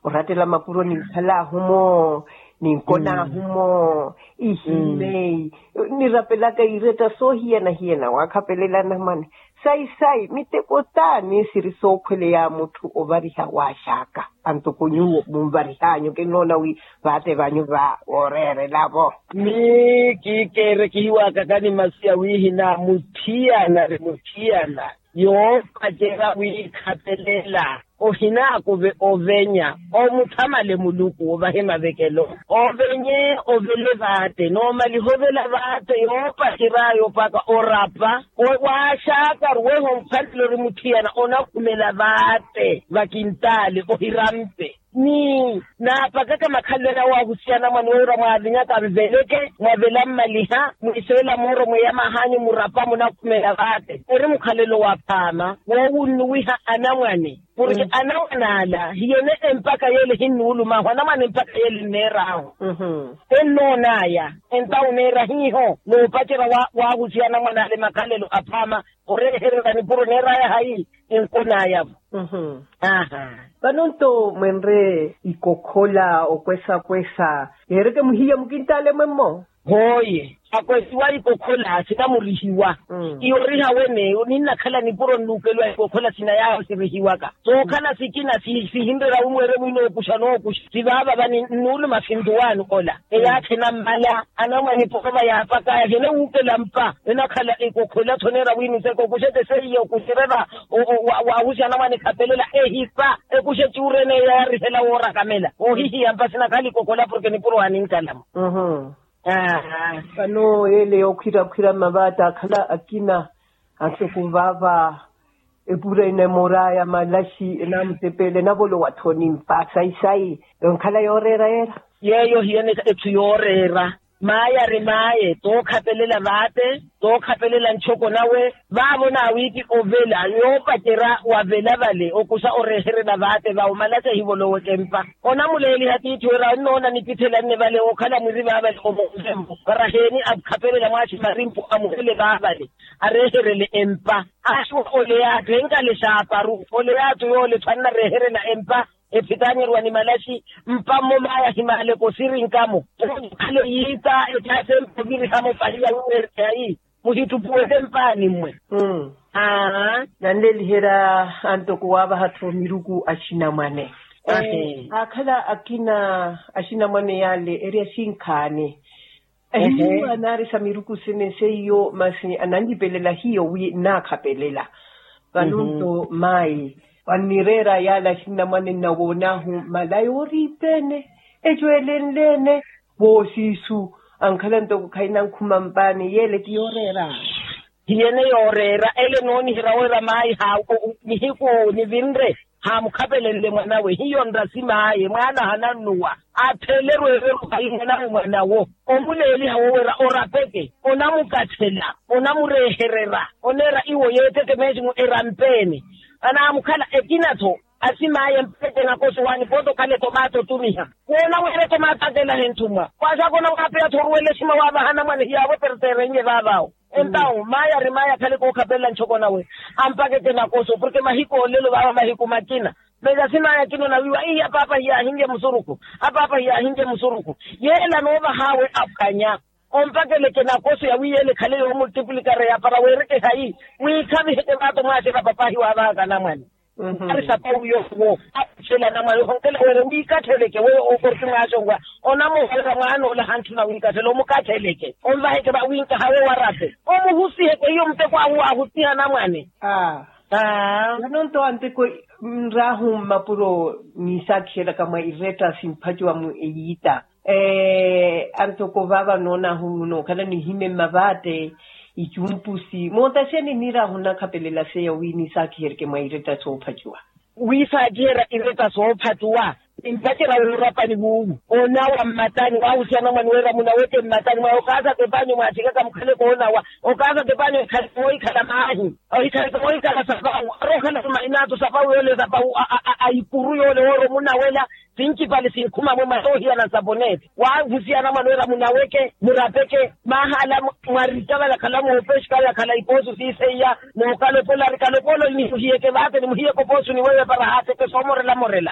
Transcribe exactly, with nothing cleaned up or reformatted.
Oratela mapuro ninkhalaahu-mo, ninkonaahu-mo, ihimeyi, nirapelaka iretta soohiyana-hiyana waakhapelela anamwane. Sayi-sayi miteko t'ani siri sookhweleya mutthu ovariha waaxaka? Antuku nyuwo munvarih'anyu kinnoona wi vaate vanyu va wooreerela-vo. Mii kiikeere kihiwaakakani masi ya wihina mutthiyana ri mutthiyana yoopacerya wiikhapelela. Ohinaakuve ovenya omuthamale muluku ovahe mavekelo. Ovenye ovele vaate noomaliha ovela vaate yoopacery'aya opaka orapa. Waaxaka ruweha omukhalelo ori mutthiyana onakhumela vaate vakintaale ohirampe. Ni naapakaka makhalelo aya waahusiya anamwane wira mwaavinyaka mveleke mwavela mmaliha mwiiseela mooro mweyamah'anyu murapa munakhumela vaate ori mukhalelo wa phaama woowunnuwiha anamwane. Porke anamwane ala hiyene empaka yeele hinnuulumahu anamwane empaka yeele nneer'ahu. Ennoon'aya entawu neera hiiho noopacerya waahusiya anamwane ale makhalelo aphaama oreehererya nipuro neer'aya hayi. Enkon'aya-vo. Vano nto mwenre ikokhola okwesa-kwesa yeereke muhiya mukintaale mwemmo. Hooye akwesiwa ikokhola sinamurihiwa. Iyoriha wene ninnakhala nipuro nnuukeliwa ikokhola sinayaahu sirihiwaka sookhala sikina sihinrerya wimweere mwinookuxa nookuxa sivaavava ni nnuuluma sintuwaani ola. Eyaakhe nammala anamwane porova yaapakaya hene wuukela mpa enakhala ekokhola-tho neera wiiniseke okuxeke seiya okuxererya. Waahusiya anamwane ekhapelela ehipa ekuxe cuurene eyaarihela woora kamela oohihiya mpa sinakhala ekokhola porke nipuro aninkalamo. Vano yeele yookhwira-khwira mavaatta akhala akina ansuku vaava epura enemor'aya malaxi enamutepele enavolowa-tho nimpa sayi-sayi. Enkhala yooreera yeera. Yeeyo hiyene etthu yooreera. Maye ari maye tookhapelela vaate tookhapelela nchoko nawe. Vaavo naawiipi ovela yoopacerya wavela vale okuxa oreeherela vaate vawe malaxi ehivoloweke mpa. Onamuleeliha tiithi wira onnoona nipithela nne vale wookhala mwiri vaavale omoovemmo varaheeni akhapelela mwaaxi marimpu amuhele vaavale areeherele empa. Axuwa ole yaatthu enkale xaaparu ole yaatthu yoole tho annareeherela empa. Ephitaanyeriwa ni malaxi mpa mmo maaya himaaleke osirinkamo. Okhale yiita ecaasa empa ovirihamo pahiya wiweereke hayi muhittupuweke mpaani mmwe. Aa nanleeliherya antoko waavaha-tho miruku axinamwane. Aakhala akina axinamwane yaale eri axinkhaani. Ehihiwa naarisa miruku sene seiyo masi ananlipelela hiyo wi nnaakhapelela. Vano nto mayi onireera yaale axinnamwane nnawoon'ahu mala yooriipeene ecweelenle-ene. Voosiisu ankhala ntoko khayi nankhuma mpaani yeele ti yooreera. Hiyene yooreera ele nooniherya wira mayi haawo nihiku nivinre haamukhapelenle mwanawe hiyo nrasi maye mwaana hanannuwa. Atheele erweerweru hayi mwanawe mwanawo omuleeliha wowera orapeke onamukathela onamureeherera oneera iwo yeeteke meesimu erampeene. Anaamukhala ekina-tho asim'aya empeke nakosi waani pooti okhala etomaato otumiha woona wira etomaato akelaha enthumwa. Waaxaka onawaapeya-tho oruwela esima waavaha anamwane hiyaawo eperteerenye vaavaawo. Entawu mayi ari mayi akhale kookhapelela nchoko nawe ampakeke nakoso porke mahiku olelo vaava mahiku makina. Meza simaya kino nawiiwa ihi apaapa hiyaahinlye musuruku apaapa hiyaahinlye musuruku. Yeela noovahaawe aphwanya ompakeleke nakoso yawiiyele ekhale yoomultiplikare yapara weereke hayi wiikhaviheke vaato mwaaxela papahi waavahaka anamwane. Ari sapawu yoowo aphwela anamwane ohonkela weere wiikatheleke weyo okorti mwaaxonwa onamuhorera mwaanoola hantthuna wiikatthela omukatheleke onvaheke vawiinkahawe warape omuhusiheke hiyo muteko ahu waahusiha anamwane. Aa vano nto anteko nraahu mmapuro niisakhiheraka mwa iretta simphacuwa mu eyiita. Antoko vaava noonaahu munookhala nihime mmavaatte icumpusi mootaxeni niiraahu nnakhapelela seya wi niisakhihereke mwa iretta soophacuwa. Wiisaakiherya iretta soophacuwa nimpacerya woorapani wuuwu onawa mmatani waahusiya anamwane wira munaweke mmatani mwawe okaasa tepanyu mwaaxikaka mukhale koonawa okaasa tepanyu ekhale moohikhala maahi ohikhale moohikhala sapawu arookhala tumahinatu sapawu yoole sapawu a ikuru yoole wooro munawela. Sincipale sinkhuma mwe mwa soohiyana nsaponeete waahusiya anamwane wira munaweke murapeke maahala mwaritavala khala moopeshi kala khala ipoosu siiseiya mookalopola ari kalopola nimuhiyeke vaate nimuhiyeke opoosu ni weyo epara haateke soomorela morela.